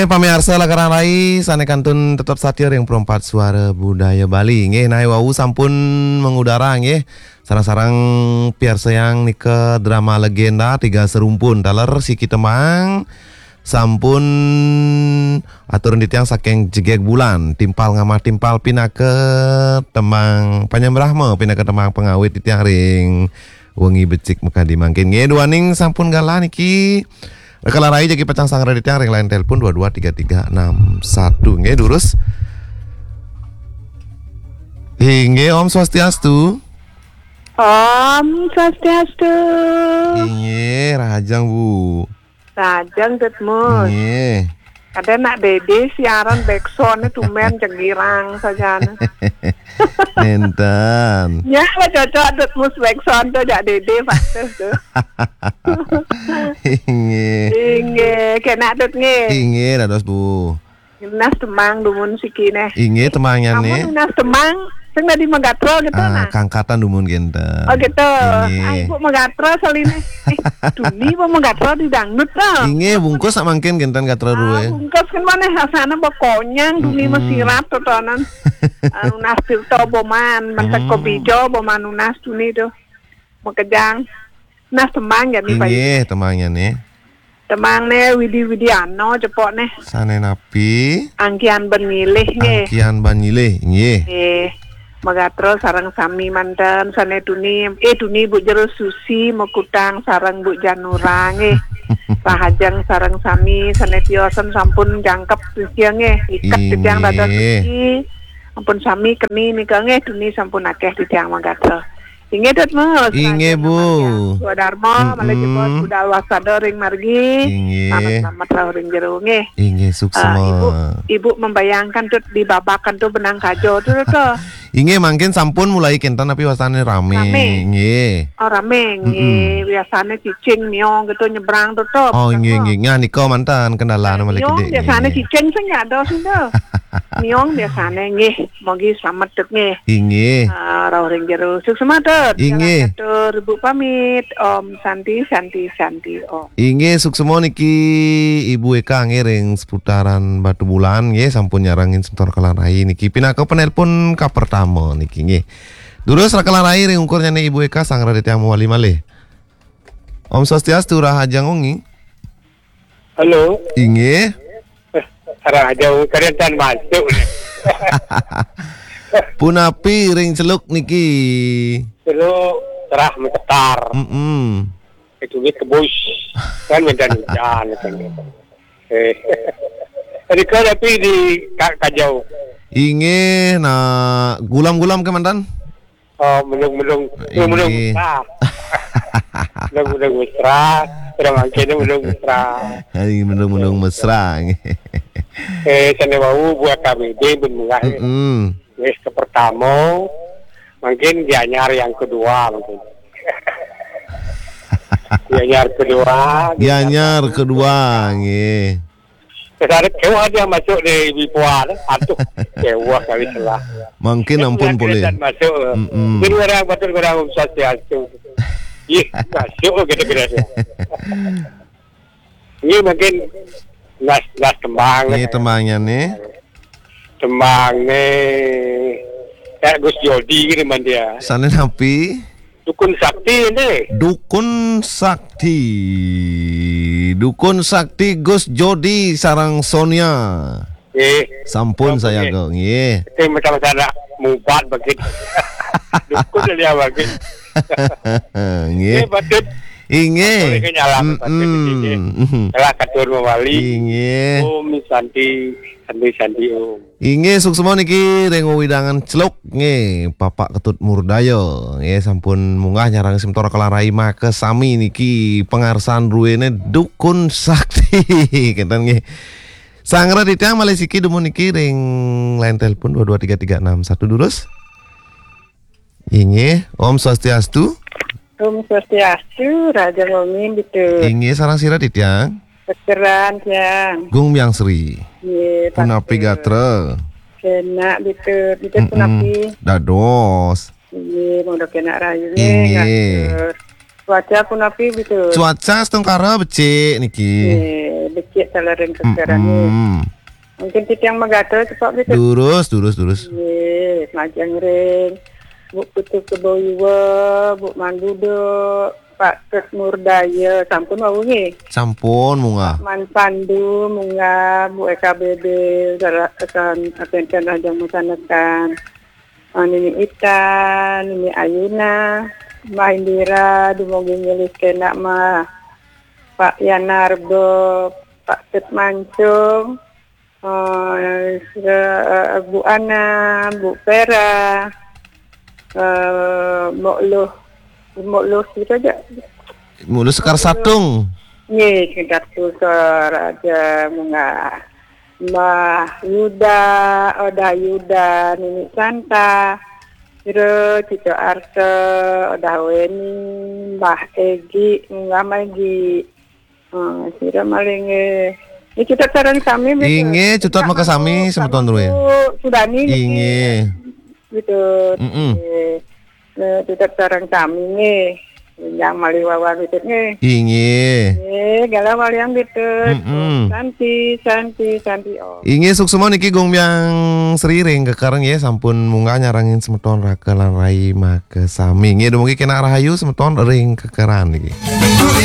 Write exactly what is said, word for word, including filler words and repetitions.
Eh, pamiarsa Lakaran Rai, sané kantun tetep satia ring Perempat Suara Budaya Bali. Nggih, nah wau sampun mengudara nggih. Sareng-sareng piarsayang nika drama legenda Tiga Serumpun taler siki tembang sampun aturin titiang saking Jegeg Bulan, Timpal Ngamah Timpal pinaka tembang Panyembrahma, pinaka tembang pangawit titiang ring wengi becik makadi mangkin. Nggih, duaning sampun galah niki. Raka Larai jagi pacang sangra titiang ring line telepon dua dua tiga tiga enam satu. Nggih, durus. Inggih, Om Swastiastu. Om Swastiastu. Inggih, rahajeng, Bu. Rahajeng, Dut Mus. Inggih. Ada nak Dede siaran backsound-nya tumben jengirang saja. Nénten. Ya, lah cocok Dut Mus backsound tuh, jak Dede patuh tuh. Inggih. Inggih, kena Dut nggih. Inggih, dados Bu. Nunas tembang dumun siki neh. Inggih, tembangnya nih. Nunas tembang, sing tadi magatra gitu. Ah, nah. Kangkatan dumun genten. Oh gitu. Inggih. Ah, Ibu magatra saline. Eh, tuni apa magatra di dangdut to? Inggih, bungkus sak mangkin genten gatra. Ah, duwe. Bungkus kan mana rasanya bakonyang, tuni. Mm-mm. Masirat totonan. Ah, nunas tirta boman, mentek. Mm. Kobijo boman nunas tuni tuh. Makejang. Nunas tembang ya nih, Pak. Inggih, tembangnya nih. Tembang né Widi Widiano cepok né. Sané napi? Angkian Ban Nyilih nggih. Angkian Ban Nyilih, nggih. Nggih. Magatra sareng sami manten sané tuni, eh, tuni Bu Jero Susi, Mekutang sareng Bu Janura nggih. Rahajeng sareng sami sané tiosan sampun jangkep Susi nggih. Iket titiang dados. Inggih. Susi. Ampun sami keni nika nggih, tuni sampun akeh titiang magatra. Inggih, Dut Mus. Inggih, Bu. Swadarma, malih jebos budal wasada ring margi. Inggih. Selamat-selamat rauh ring jero nggih. Inggih, suksma. Ah, Ibu, Ibu membayangkan tuh di babakan tuh benang kajo tuh, tuh. Inggih, mangkin sampun mulai kenten tapi wasane rame. Rame. Nggih. Oh, rame nggih. Mm-mm. Biasane cicing miong gitu nyebrang tuh, tuh. Oh, nggih, nggih. Nah, nika mantan kendala malih. Miong gedhe, biasane nggih. Cicing sing nggak ada sih tuh. Miong biasane nggih. Mogi slamet, Dut, nggih. Inggih. Ah, rauh ring jero. Suksma, Dut. Inggih. Jalan catur, Ibu pamit. Om Santi, Santi, Santi, Om. Inggih, suksma niki Ibu Eka nggih ring seputaran Batubulan nggih, sampun nyarengin semeton Raka Larai niki pinaka penelpon kapertama niki nggih. Durus Raka Larai ring ungkurnyane Ibu Eka, sangra titiang mawali malih. Om Swastiastu, rahajeng wengi. Halo. Inggih. Eh, rahajeng wengi, kadén tan masuk. Punapi ring Celuk niki? Celuk cerah mencetar. Mm-mm. Itu duit kebus. Kan medan hujan, kan. Eh. Tadi kau tapi di Ka-, Kajau. Inggih, nah, gulam-gulam ke mantan? Oh, melung-melung, melung-melung. Inggih. Mesra. Melung-melung mesra. Orang mangkin melung mesra. Hai, melung-melung mesra. Eh, sané wau buat kami, dia pun murah. Mm-mm. Wis kepertama, mungkin Gianyar yang kedua mungkin. Gianyar kedua, Gianyar kedua, nggih. Terus ada kewah dia masuk di Bipuan. Aduh, kewah kali salah. Mungkin ampun boleh. Masuk. Mm-mm. Jadi orang batur orang Swastiastu. Ih, masuk gitu kira. Ini mungkin nas, nas tembang. Ini tembangnya nih. Tembang nih. Kayak Gus Jodi gitu man dia. Sana napi? Dukun Sakti ini. Dukun Sakti. Dukun Sakti Gus Jodi sareng Sonia. Eh, sampun saya nggih. Nggih. Itu macam sana mubat bagi. Dukun dia bagi. Nggih. Nggih, patut. Inggih. Boleh ke nyalam, patut. Mm-mm. Nggih. Telah katur mawali. Inggih. Om Santi, Santi, Santi, Om. Inggih, suksma niki ring wewidangan Celuk nggih, Bapak Ketut Murdaya nggih, sampun munggah nyarang semeton Raka Larai makasami niki pangarsan druene Dukun Sakti. Kenten nggih. Sangra titiang malih siki dumun niki ring line telepon dua dua tiga tiga enam satu, durus. Inggih, Om Swastiastu. Om Swastiastu, rahajeng wengi, Bitu. Inggih, sareng sira titiang? Sekeran, tiang. Gung Biang Sri. Nggih, punapi gatra? Kena, Bitu. Bitu, mm-mm, punapi? Dados. Nggih, monggo kena rahayu nggih. Inggih. Ngatur. Cuaca punapi, Bitu? Cuaca setungkara becik niki. Nggih, becik taler ring kekeran. Mm-mm. Mungkin titiang magatel cepak, Bitu. Durus, durus, durus. Nggih, majeng ring Bu Putu Kebo Iwa, Bu Mandudo, Pak Ket Murdaya, sampun wau nggih. Sampun munggah. Man Pandu munggah, Bu E K B B, sareng rekan, rekan ajeng masanekan. Ah, Nini Ita, Nini Ayuna, Mbah Indira, dumugi ngilis kena mah. Pak Yanarbo, Pak Ket Mancung, eh, sira, eh, Bu Ana, Bu Vera, eh, Mbok Luh, Mbok Luh sira aja. Mbok Luh Sekar Satung. Nggih, Sekar Satung aja munggah. Mbah Yuda, Odah Yuda, Nini Santa, sira Cito Arta, Odah Weni, Mbah Egi, Mbah Megi. Ah, sira malih nggih. Niki Cutet sareng sami, Bitu. Inggih, Cutet makasami, semeton druéné. Bu Sudani niki. Inggih. Gitu. Mm-mm. Nggih. Nah, Cutet sareng sami nggih. Yang malih wawar Bitu nggih. Inggih. Nggih, galah walian Bitu. Mm-mm. Santi, santi, santi, Om. Inggih, suksma niki Gung Biang Sri ring Kekeran nggih, sampun munggah nyarengin semeton Raka lan Rai makasami. Nggih, dumugi kena rahayu semeton ring Kekeran niki.